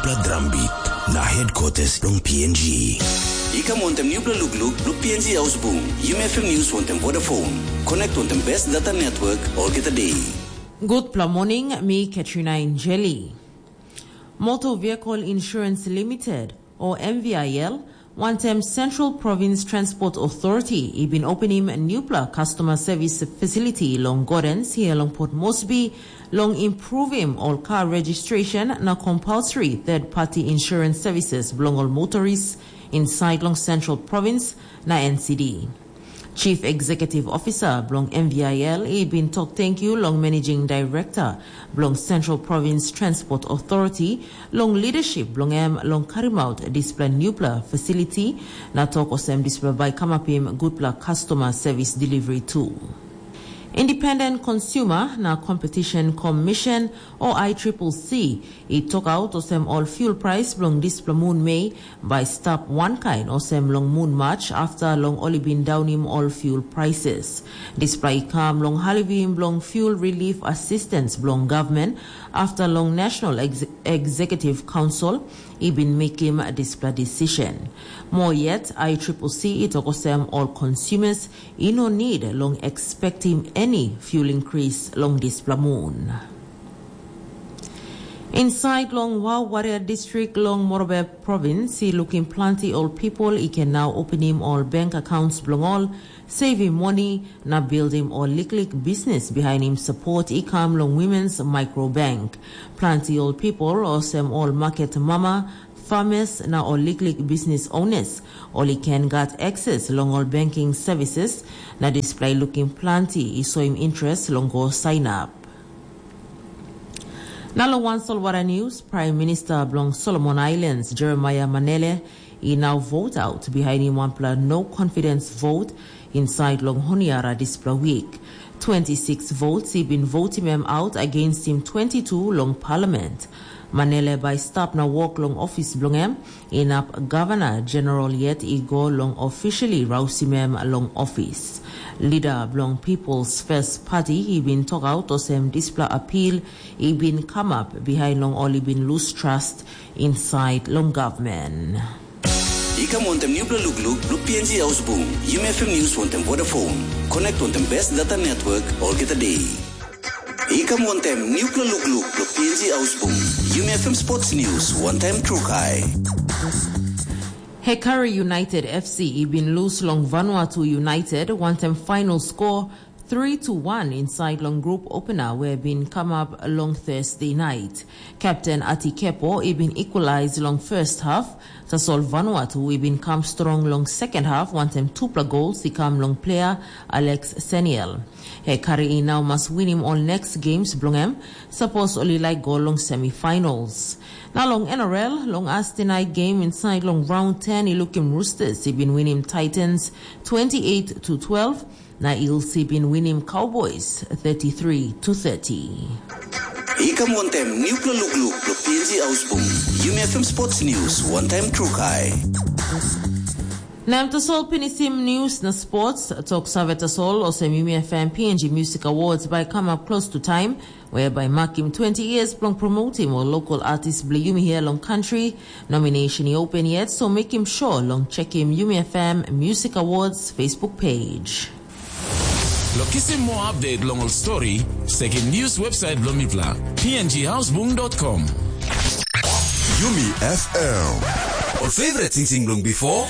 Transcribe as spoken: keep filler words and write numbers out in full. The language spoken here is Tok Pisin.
Pla drambit na headquarters long P N G. I kam wantem nupela lukluk bilong P N G Ausbung, Yumi F M News wantem Vodafone. Connect wantem best data network olgeta day. Gutpela morning, mi Katrina Injeli. Motor Vehicle Insurance Limited, o M V I L, wantem Central Province Transport Authority i bin openim nupela customer service facility long Gordens here long Port Moresby, long improvim ol car registration na compulsory third party insurance services bilong ol motorists inside long Central Province na N C D. Chief Executive Officer bilong M V I L i bin tok tenkyu long Managing Director bilong Central Province Transport Authority long leadership bilong em long karimaut dispela nupela facility, na tok olsem dispela bai kamapim gutpela customer service delivery tu. Independent Consumer na Competition Commission, o I triple C, i tokaut olsem ol fuel price bilong dispela mun Mei bai stap wankain olsem long mun Mac afta long ol i bin daunim ol fuel prices. Dispela i kam long halivim bilong fuel relief assistance bilong gavman afta long National Ex- Executive Council i bin mekim dispela decision. Moa yet, I triple C i tok olsem ol consumers i no need long expectim any fuel increase long dispela mun. Inside long Wow Warrior District long Morobe Province, i lukim planti ol people i can now openim ol bank accounts bilong ol, saving money, na buildim ol liklik business behind him support i kam long Women's Micro Bank. Planti ol people, olsem ol market mama, farmers, na ol liklik business owners, ol i can gat access long ol banking services, na dispela i lukim planti i soim interest long go sign up. Na long wan solwara news, Prime Minister bilong Solomon Islands, Jeremiah Manele, i nau vote out behind him wanpela no confidence vote inside long Honiara dispela week. twenty-six votes i bin votim em out against him twenty-two long parliament. Manele bai stap na wok long ofis bilong em, inap gavana general yet i go long officially rausim em long ofis. Lida bilong People's First Party i bin tokaut olsem dispela apil i bin kamap bihain long ol i bin lus trust insait long gavman. I kam wantem nupela lukluk bilong P N G Ausbung, Yumi F M News wantem Vodafone. Connect wantem best data network olgeta day. I kam wantem nupela lukluk bilong P N G Ausbung, Yumi F M Sports News wantem Trukai. Hekari United F C i bin lus long Vanuatu United wantem final score three to one inside long group opener we bin come up long Thursday night. Captain Ati Kepo i bin equalize long first half, tasol Vanuatu i bin kam strong long second half wantem tupela gols i kam long player Alex Seniel. Hekari i nau mas winim ol next games bilong em, sapos ol i laik go long semifinals. Na long N R L, long Thursday night game inside long round ten i lukim Roosters i bin winim Titans twenty-eight to twelve, na Eels i bin winim Cowboys thirty-three to thirty. I kam wantem nupela lukluk bilong P N G Ausbung, Yumi F M Sports News wantem Trukai. Na em tasol pinisim news na sports, tok save tasol olsem Yumi F M P N G Music Awards bai come up close to time, whereby makim twenty years bilong promoting ol local artist bilong Yumi here long country. Nomination i open yet, so makim sure long checkim Yumi F M Music Awards Facebook page. Lo kisim moa update long ol story, sekim news website bilong mipela, P N G Houseboom dot com. Yumi F M. Ol favorite singsing bilong before?